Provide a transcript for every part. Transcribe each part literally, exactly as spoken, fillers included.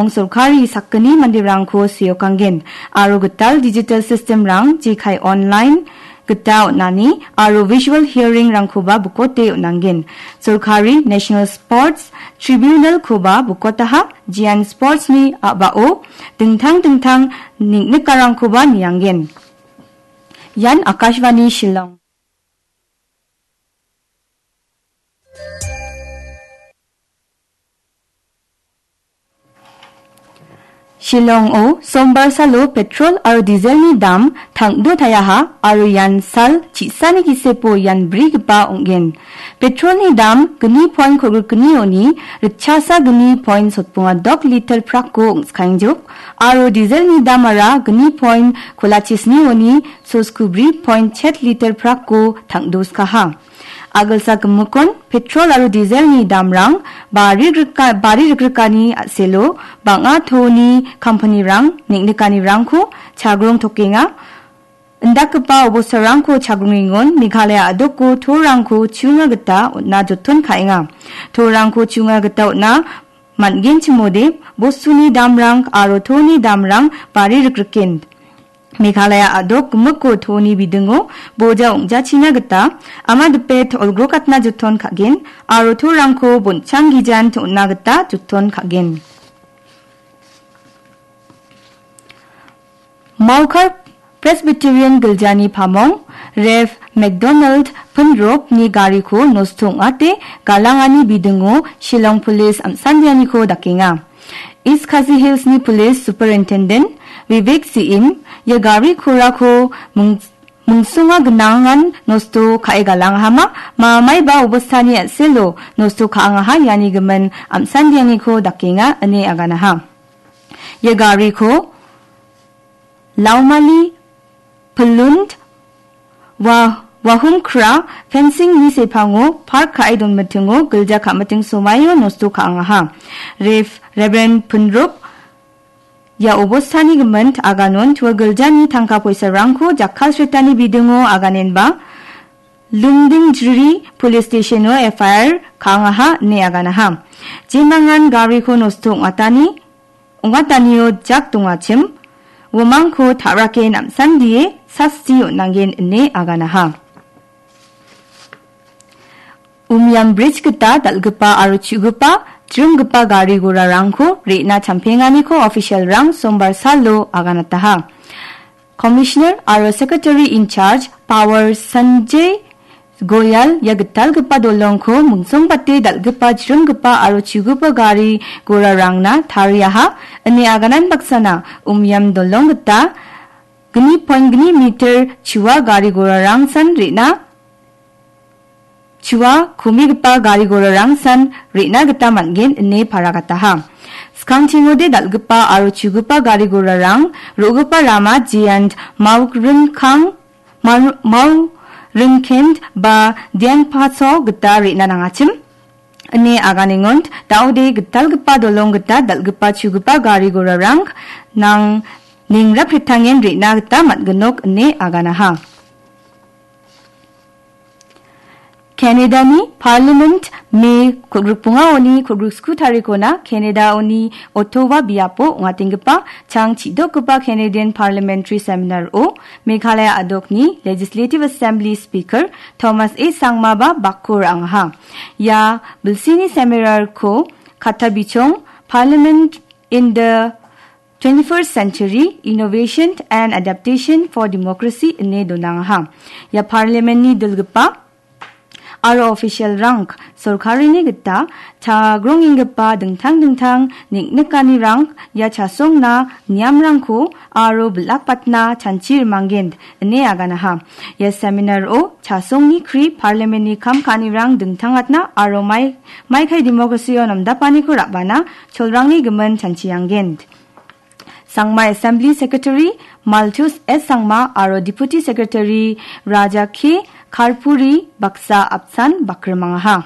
Ong sorkari sakgni manderangko seokanggen aro gital digital system-rang jekai online gita on·ani aro visual hearing-rangkoba bukote on·angen. Sorkari National Sports Tribunal-koba bukotaha, jean sports-ni a·bao dingtang dingtang neng·nikarangkoba niangen. Ian Akashvani Shillong. Shillong-o sombar salo petrol aro dieselni dam tangdo taiaha aro ian sal chi·sani gisepo ian brigipa ong·gen. Petrolni dam gni point kolgrikgnioni ritchasa gni point sotbonga dok liter prakko ong·skaengjok aro dieselni damara gni point kolachesnioni soskubri point chet liter prakko tangdoskaha. Agilsa gimikon petrol aro dieselni damrang bari grika-, bari rigrikani a·selo bang·a toni kampanirang neng·nikanirangko chagrong tokenga. Indakgipa obostarangko chagrongengon Meghalaya a·doko torangko chiunga gita on·na joton ka·enga. Torangko chiunga gita on·na man·genchimode bostuni damrang aro toni damrang bari rikriken. Meghalaya a·dok gimikko toni bidingo boja ong·jachina gita ama dipet olgrokatna joton ka·gen aro torangko bonchang gijan on·na gita joton ka·gen. Maukar Presbyterian giljani pamong Rev. McDonald Pinropni gariko nosto ong·ate galangani bidingo Shillong Police am·sandianiko dakenga. East Khasi Hillsni Police Superintendent Vivek Singh ia gari korako mung-, mungsunga gnangan nosto ka·e galangahama, ma-, maiba obostani a·selo nosto ka·angaha iani gimin am·sandianiko dakenga ine aganaha. Ia gariko Laumali Pilund Wa-, Wahumkra fencing-ni sepango park ka·e donmitingo gilja ka·miting somaio nosto ka·angaha. Rev-, Reverend Pinrup ia obostani gimint aganon tua giljani tangka poisarangko jakkalsretani bidingo aganenba Lumdingjiri Police Station-o F I R ka·angaha ine aganaha. Jemangan gariko nosto ong·atani ong·atanio jak dongachim, uamangko ta·rake namsandie sasti on·angen ine aganaha. Umiam Bridge gita dal·gipa aro chu·gipa, jringgipa gari gorarangko re·na champenganiko official-rang sombar salo aganataha. Commissioner aro Secretary in Charge Power Sanjay Goyal ia gitalgipa dolongko mungsongbate dal·gipa, jringgipa aro chugipa gari gorarangna tariaha ine aganan baksana Umiam dolong gita gni point gni meter chua gari gorarangsan re·na, chua komigipa gari gorarangsan re·na gita man·gen ine paragataha. Skangchingode dal·gipa aro chugipa gari gorarang ro·gipa rama J and Mauringkang Mar-, Mauringkent ba Diangpaso gita re·na nangachim. Ine aganengon, daode gitalgipa dolong gita dal·gipa chugipa gari gorarang nang ningraprittangen re·na gita man·ginok ine aganaha. Canada-ni Parliament Me kolgrik bongaoni kolgrik sku tarikona Canada-oni Ottawa biapo ong·atenggipa chang chidokgipa Canadian Parliamentary Seminar-o Meghalaya a·dokni Legislative Assembly Speaker Thomas A Sangmaba bakko ra·angaha. Ia bilsini seminar-ko katta bichong Parliament in the twenty-first Century, Innovation and Adaptation for Democracy ine donangaha. Ia Parliament-ni dilgipa aro official-rang sorkarini gita chagrongenggipa dingtang dingtang neng·nikanirang ia chasongna niamrangko aro bilakbatna chanchi rimanggen ine aganaha. Ia seminar-o chasongni kri Parliament-ni kam ka·anirang dingtangatna aro mai-, maikai democracy-o namdapaniko ra·bana cholrangni gimin chanchianggen. Sangma Assembly Secretary Malthus S Sangma aro Deputy Secretary Raja K Kharpuri baksa apsan bakrimangaha.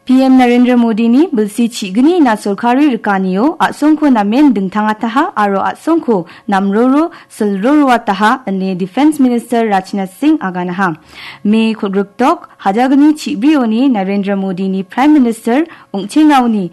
P M Narendra Modini bilsi chigni na sorkari rikanio a·songko namen dingtangataha aro a·songko namroro silroroataha ine Defence Minister Rajnath Singh aganaha. Me kolgrikdok hajagni chibrioni Narendra Modini Prime Minister ong·chengaoni